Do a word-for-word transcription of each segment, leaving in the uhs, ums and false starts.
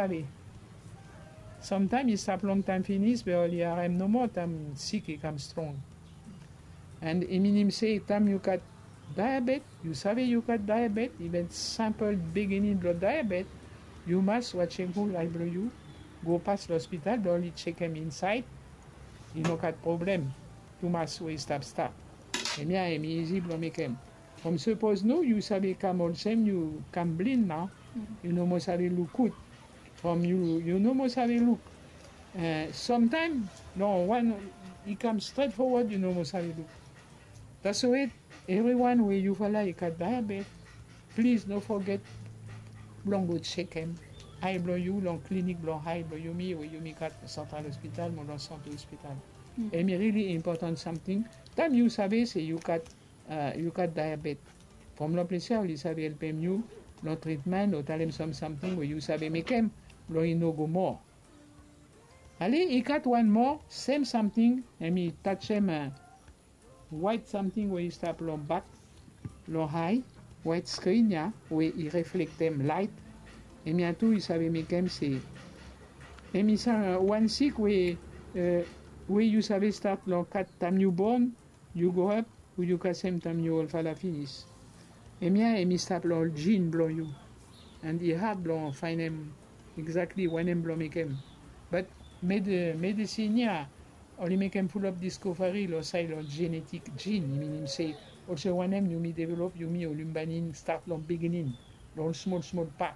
save. Samtaem i stap longtaem finis be oli harem nomo taem sik i kam strong. And i minim se taem yu gat diabet, yu save yu gat diabet, iven simpol biginin blong diabet, yu mas watsem ful ai blong yu, go pas long ospital blong oli tsekem insaed i no gat problem tumas we i stap stap. Hemia hem i izi blong mekem. From sapos no yu save kam olsem yu kam blin nao, yu no moa save luk gud. From yu yu no moa save luk. Samtaem long wan i kam stret fowod yu no moa save luk. That's why evriwan we yufala i gat diabet, plis no foget blong go tsekem ai blong yu long klinik blong ai blong yumi we yumi gat Central Hospital mo long Santé Hospital. Hem i rili impotan samting taem yu save se yu gat yu gat diabet. From long ples ya oli save helpem yu long tritmen o talem sam samting we yu save mekem blong i no go moa. Ale i gat wan moa sem samting hem i tajem waet samting we i stap long bak long ai, waet skrin ya we i reflektem laet. Hemia tu i save mekem se hem i wan sik we we yu save stat long kat taem yu bon, yu groap, o yu kasem taem yu olfala finis. Hemia hem i stap long ol jin blong yu. And i had blong faenem egzakli wanem blong mekem. Bat medisin ya oli mekem fulap diskoveri long saed long jenetik jin, i minim se olsem wanem yumi develop yumi oli bae nid stat long biginin long ol smol smol pat.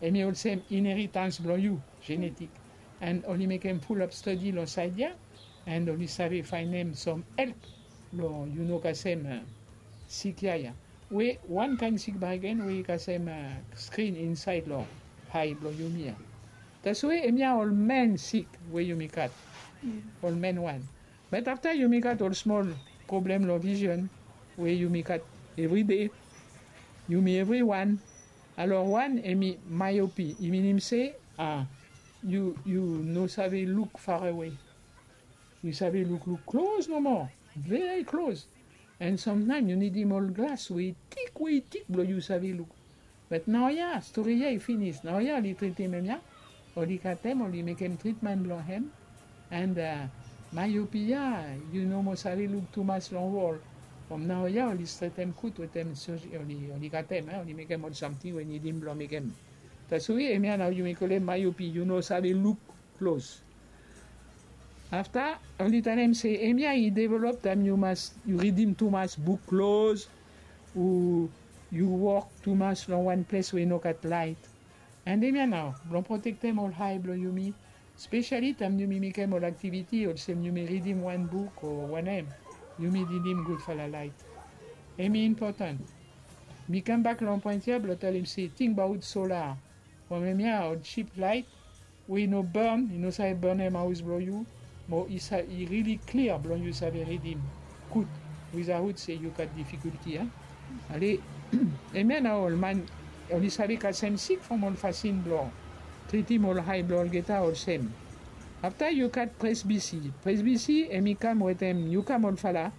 Hemi olsem inheritans blong yu, jenetik. And oli mekem fulap stadi long saed ya. And oli save faenem sam help blong yu no kasem sik ya ya. We wan kaen sik bakegen we i kasem skrin insaed long ae blong yumi ya. That's why hemia ol men sik we yumi gat, ol men wan. Bat afta yumi gat ol smol problem long vision we yumi gat evride, yumi evriwan. Alor wan hemi myopi, i minim se a yu yu no save luk farewe. Yu save lukluk klos nomo, veri klos. And samtaem yu nidim ol glas we i tik we i tik blong yu save luk. Bat naoia stori ya i finis. Naoia oli tritim hemia, oli katem, oli mekem tritman blong hem. And myopi ya yu no moa save luk tumas long wol. From naoia oli stretem gud wetem surgery, oli katem, oli mekem ol samting we nidim blong mekem. That's why hemia nao yumi kolem myopi, yu no save luk klos. Afta oli talem se hemia i develop taem yu mas yu ridim tumas buk klos, o yu wok tumas long wan ples we i no gat laet. And hemia nao blong protektem ol ae blong yumi, spesiali taem yumi mekem ol aktiviti olsem yumi ridim wan buk o wanem, yumi nidim gudfala laet. Hemi impotan. Mi kambak long poen ya blong talem se tingbaot sola. From hemia ol jip laet we i no bon, i no save bonem haos blong yu, mo i rili klia blong yu save ridim gud wizaot se yu gat difikulti. Ale, hemia nao ol man oli save kasem sik from ol fasin blong tritim ol ae blong olgeta olsem. Afta yu gat presbisi. Presbisi hemi kam wetem yu kam olfala,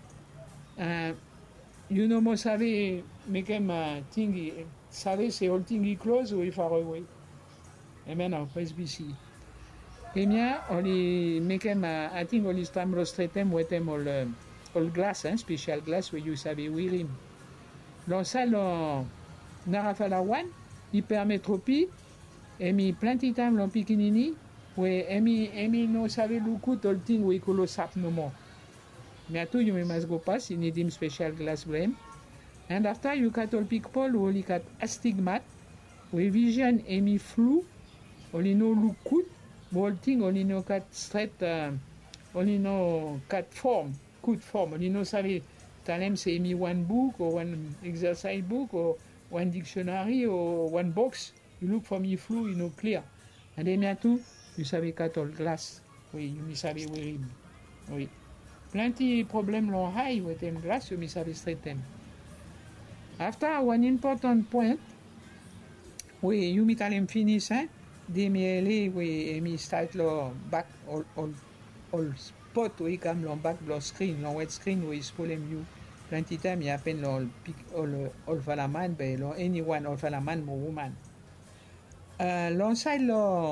yu no moa save mekem ting i save se ol ting i klos o i farewe. Hemia nao presbisi. Hemia oli mekem ating oli stap blong stretem wetem ol glas, spesial glas we yu save werim. Long saed long narafala wan, ipermetropi, hemi plante taem long pikinini we hemi no save luk gud ol ting we i klosap nomo. Hemia tu yumi mas go pas, i nidim spesial glas blong hem. And afta yu gat ol pipol we oli gat astigmat, we vision hemi flu, oli no luk gud, mo ol ting oli no gat stret, oli no gat fom, gud fom, oli no save talem se hemi wan buk o wan eksesaes buk o wan diksionari o wan boks. Yu luk from i flu, i no klia. And hemia tu yu save gat ol glas we yumi save werim. Wi. Plante problem long ae wetem glas yumi save stretem. Afta wan impotan poen we yumi talem finis, demiele we hemi stat long bak ol ol ol spot we i kam long bak blong skrin, long waet skrin we i spolem yu. Plante taem i hapen long ol pik ol olfala man be long eniwan, olfala man mo woman. Long saed long